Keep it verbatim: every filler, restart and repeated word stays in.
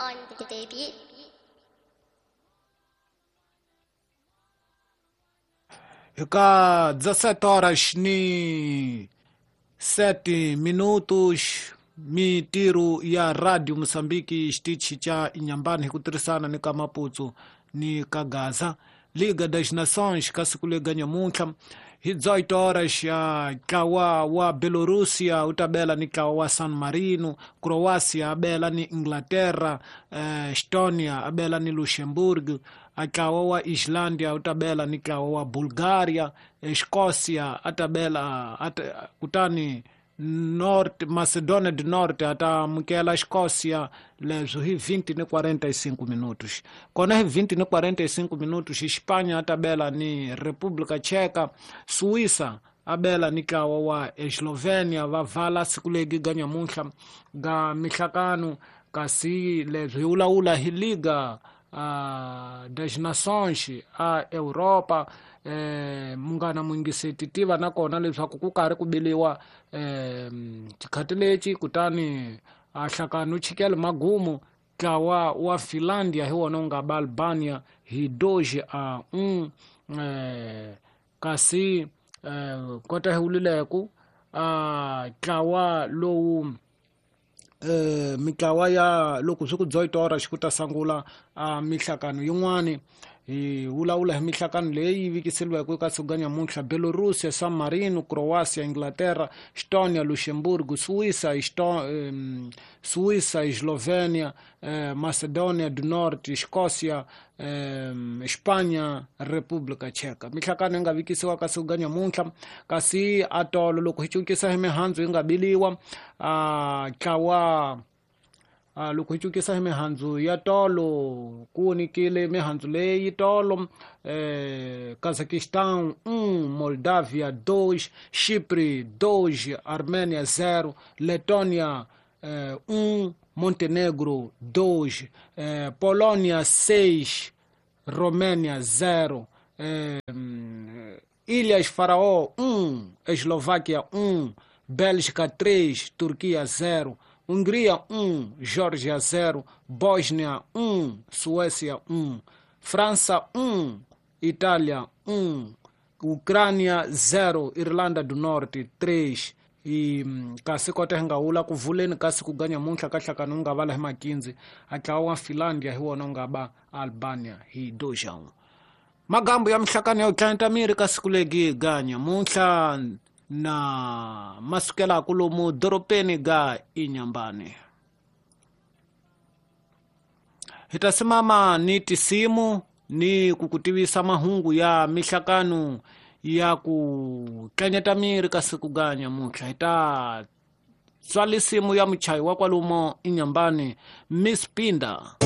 On the beat. Ka dezessete horas ni sete minutos, mitiro ya Radio Moçambique xitichi cha Inhambane hi ku tirhisana ni ka Maputo ni ka Gaza. Liga das Nações ka siku lega nyamuntlha hi dezoito horas ya ntlawa wa Bielorussia wu ta bela ni ntlawa wa San Marino, Croácia a bela ni Inglaterra, eh, Estonia a bela ni Luxemburgo, a ntlawa wa Islândia wu ta bela ni ntlawa wa Bulgaria, Escócia a ta bela kutani Norte, Macedônia do Norte a ta amukela Escócia leswo hi vinte ni quarenta e cinco minutos. Kona hi vinte ni quarenta e cinco minutos Espanha a ta bela ni República Tcheca, Suíça a bela ni ntlawa wa Eslovênia va vala siku legi ga nyamuntlha ga mihlakano, kasi leswi hi vulavula hi Liga uh, das Nações a Europa. Eh, munghana muyingiseti tiva nakona leswaku ku karhi ku biliwa eh, xikhati lexi, kutani a hlakano chikele magumu ntlawa wa Finlandia hi wona wu nga ba Albania hi dois a um, eh, kasi eh, kota hi wulileku a ntlawa lowu eh, mitlawa ya loko swi ku dezoito horas ku ta sungula a mihlakano yin'wani. Hi vulavula hi mihlakano leyi vikiseliweke eka siku ga nyamuntlha: Bielorussia, San Marino, Croácia, Inglaterra, Estonia, Luxemburgo, Suíça, Esto, um, Suíça, Eslovênia, eh, Macedônia do Norte, Escócia, eh, Espanha, República Tcheca. Mihlakano yi nga vikisiwa ka siku ga nyamuntlha, kasi atolo loko hi cukisa hi mihandzu yi nga biliwa a ntlawa Uh, loko hi cukisa hi mihandzu ya tolo ku nyikile mihandzu leyi tolo eh, Kazakhstan um, Moldavia dois, Chipre dois, Armênia zero, Letônia eh, um, Montenegro dois, eh, Polônia seis, Romênia zero, eh, Ilhas Faraó um, Eslováquia um, Bélgica três, Turquia zero, Hungria um, Geórgia zero, Bósnia um, Suécia um, França um, Itália um, Ucrânia zero, Irlanda do Norte três. E kasi kota hi nga wula ku vuleni kasi ku ga nyamuntlha ka hlakano wu nga vala hi makinzi a ntlawa wa Finlandia hi wona wu nga ba Albania hi dois a um. Magambo ya mihlakano ya ku tlangeta miri ka siku legi ga nyamuntlha na masukela kulomu doropeni ga Inhambane. Hi ta simama ni tisimu ni kukutivisa mahungu ya mihlakano ya ku tlanyeta miri ka siku ga nyamuntlha. Hi ta tswalisimu ya muchayi wa kwalomu Inhambane, Miss Pinda.